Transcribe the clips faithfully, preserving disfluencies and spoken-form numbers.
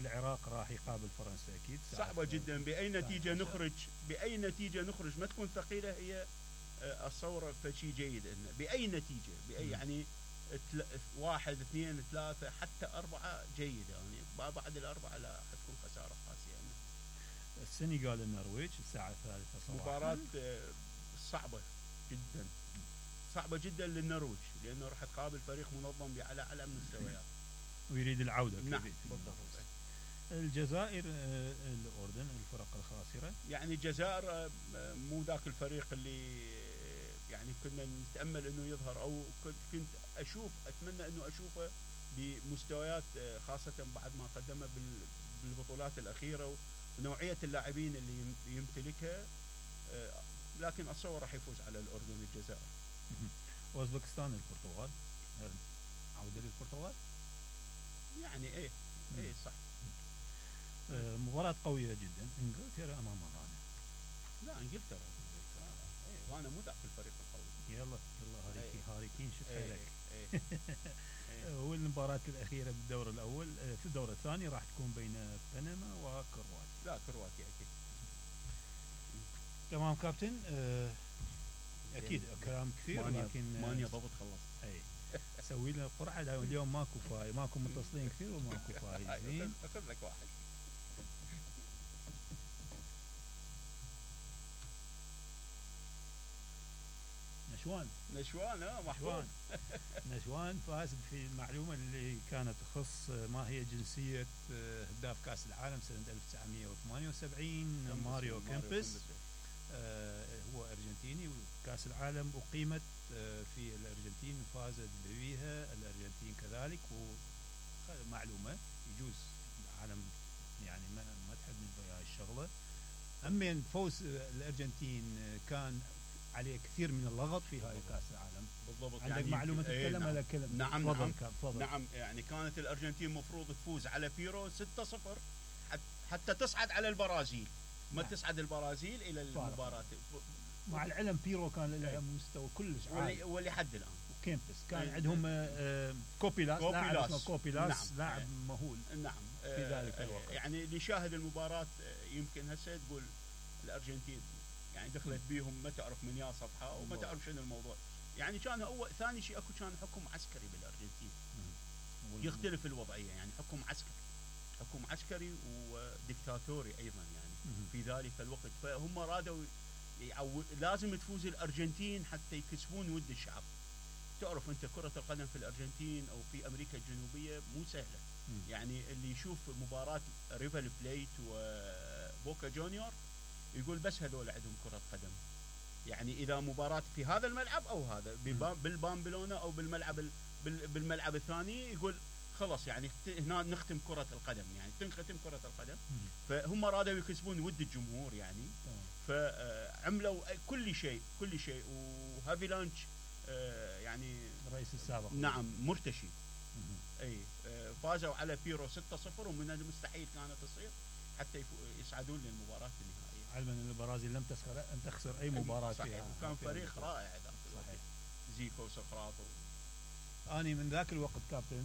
العراق راح يقابل فرنسا اكيد صعبه جدا. باي نتيجه نخرج باي نتيجه نخرج ما تكون ثقيله هي اتصور فشي جيد انه باي نتيجه باي يعني واحد اثنين ثلاثه حتى اربعه جيده يعني بعد الاربعه لا حتكون خساره قاسيه يعني. السنغال النرويج الساعه الثالثة صباحا مباراه صعبه جدا صعبه جدا للنرويج لانه راح تقابل فريق منظم على اعلى المستويات ويريد العوده. نعم بالضبط. الجزائر الاردن الفرق الخاسره يعني الجزائر مو ذاك الفريق اللي يعني كنا نتامل انه يظهر او كنت اشوف اتمنى انه اشوفه بمستويات خاصه بعد ما قدمه بالبطولات الاخيره ونوعيه اللاعبين اللي يمتلكها لكن اتصور راح يفوز على الاردن الجزائر. اوزبكستان البرتغال عوده للبرتغال يعني ايه ايه صح. آه مباراة قوية جدا انجلترا امام غانا. لا انجلترا ايه غانا مو ذاك الفريق القوي. يلا يلا هاريكي ايه هاريكين شو ايه ايه ايه والمباراة الأخيرة بالدور الأول في الدور الثاني راح تكون بين بنما وكرواتيا. لا كرواتيا أكيد. تمام كابتن آه أكيد كلام كثير لكن مانيا ضبط خلص. أي سوي لنا قرعة اليوم ماكو فايز ماكو متصلين كثير وماكو فايزين. أخذ لك واحد. نشوان نشوان اه محفوظ. نشوان فاز في المعلومة اللي كانت تخص ما هي جنسية هداف كأس العالم سنة ألف وتسعمئة وثمانية وسبعين ماريو كيمبس. آه هو أرجنتيني وكأس العالم أقيمت آه في الأرجنتين وفازت بها الأرجنتين كذلك. ومعلومة يجوز العالم يعني ما ما تحب هاي الشغلة. أمين فوز الأرجنتين كان عليه كثير من اللغط في هاي كأس العالم. بالضبط. عندك يعني معلومة تتكلم على كلمة. نعم نعم نعم, نعم يعني كانت الأرجنتين مفروض تفوز على بيرو ستة صفر حتى تصعد على البرازيل. ما نعم. تصعد البرازيل إلى المباراة. مع العلم بيرو كان له مستوى كلش عالي ولحد الآن. وكيمبس كان ايه عندهم آه كوبيلاس لاعب اسمه كوبيلاس نعم. لاعب ايه مهول. نعم في ذلك الوقت. يعني اللي شاهد المباراة يمكن هسه تقول الأرجنتين يعني دخلت بيهم ما تعرف من يا صفحة وما تعرف شنو الموضوع. يعني كان أول ثاني شيء أكو كان حكم عسكري بالأرجنتين. يختلف الوضعية يعني حكم عسكري حكم عسكري وديكتاتوري أيضا يعني في ذلك الوقت. فهم رادوا يعو... لازم تفوز الأرجنتين حتى يكسبون ود الشعب. تعرف أنت كرة القدم في الأرجنتين أو في أمريكا الجنوبية مو سهلة. يعني اللي يشوف مباراة ريفر بليت وبوكا جونيور يقول بس هذول عندهم كرة قدم. يعني إذا مباراة في هذا الملعب أو هذا بالبامبلونا أو بالملعب بالملعب الثاني يقول خلاص يعني هنا نختم كرة القدم يعني تنختم كرة القدم. فهم رادوا يكسبون ود الجمهور يعني. فعملوا كل شيء كل شيء. وهافيلانش يعني الرئيس السابق نعم مرتشي. أي فازوا على بيرو ستة صفر ومن المستحيل كانت تصير حتى يصعدون للمباراة النهائية. علما ان البرازيل لم تخسر لم تخسر اي مباراة فيها. وكان فريق رائع صحيح. زيكو وسقراط. اني من ذاك الوقت كابتن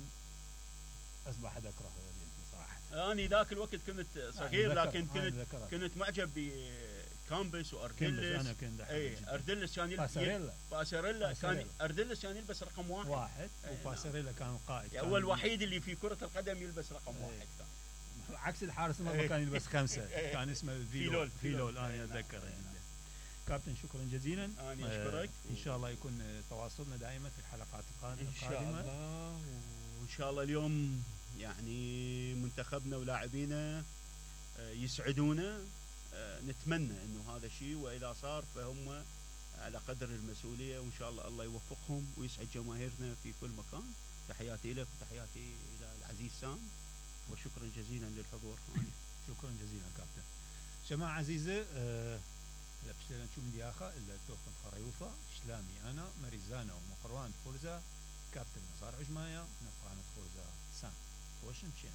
اصبح اكره الارجنتين صراحة. اني ذاك الوقت كنت صغير لكن كنت كنت معجب بكامبس واردلس. انا كنت اي اردلس كان يلبس باساريلا باساريلا كان اردلس كان يلبس رقم واحد واحد وباساريلا كان القائد. هو الوحيد اللي في كرة القدم يلبس رقم واحد كان. عكس الحارس المرمى كان يلبس خمسة. كان اسمه فيلول فيلول انا اتذكر. كابتن شكرا جزيلا. انا اشكرك. ان شاء الله يكون تواصلنا دائما في الحلقات القادمه. ان شاء الله. وان شاء الله اليوم يعني منتخبنا ولاعبينا يسعدونا. نتمنى انه هذا الشيء واذا صار فهم على قدر المسؤوليه وان شاء الله الله يوفقهم ويسعد جماهيرنا في كل مكان. تحياتي لك وتحياتي الى العزيز سام وشكرا جزيلا للحضور. شكرا جزيلا كابتن. جماعة عزيزة أه لا بشتري نشوف من آخر إلا توفن خريوفة شلامي أنا مريزانا ومقروان فرزة كابتن نزار عجمايا نقران فرزة سام وشن شين.